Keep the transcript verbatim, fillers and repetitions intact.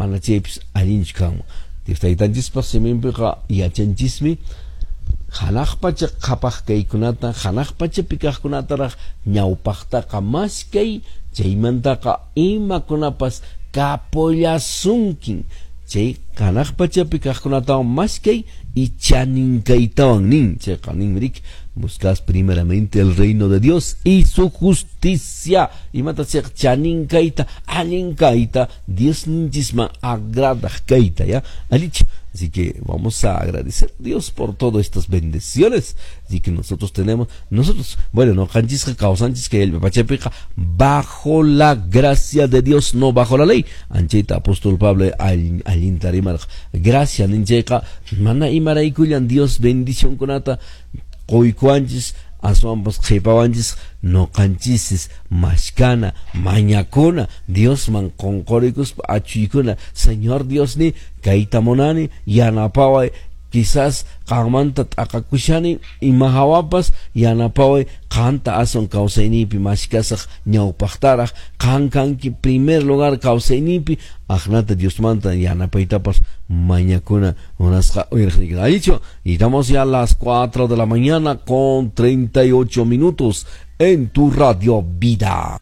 Mana chaypis allinchu kanman. Dios taytanchispa siminpiqa yachanchismi hanaq pacha qhapaq kaykunata, hanaq pachapi kaqkunataraq ñawpaqtaqa maskay, chaymantaqa imakunapas kapullasunkin. Chay hanaq pachapi kaqkunatawan maskay y chaninkaytawan nin. Chayqa ninmi riki, buscad primeramente el reino de Dios y su justicia. Imata chayqa chaninkayta, allinkayta, Diosninchisman agradaq kayta, ya. Allichu. Así que vamos a agradecer a Dios por todas estas bendiciones. Así que nosotros tenemos, nosotros, bueno, no kanchisqa kawsanchis kay pachapiqa bajo la gracia de Dios, no bajo la ley. Anchayta apóstol Pablo allinta rimarqa. Gracia ninchayqa mana imaraykullan Dios bendicionkunata quykuwanchis, aswanpas qhipawanchis noqanchisis mashkana, mañakuna, Diosman qunqurikuspa achuykuna. Señor Dios ni kayta munani, yanapaway, quizás qanmanta t'aqakushani ima hawapas, yanapaway qanta aswan kawsayniypi mashkasaq ñawpaqtaraq, qan kanki primer lugar kawsayniypi, aqnata Diosmanta yanapaytapas mañakuna munasqa uyariqniyki. Allichu, y estamos ya a las cuatro de la mañana con treinta y ocho minutos en tu Radio Vida.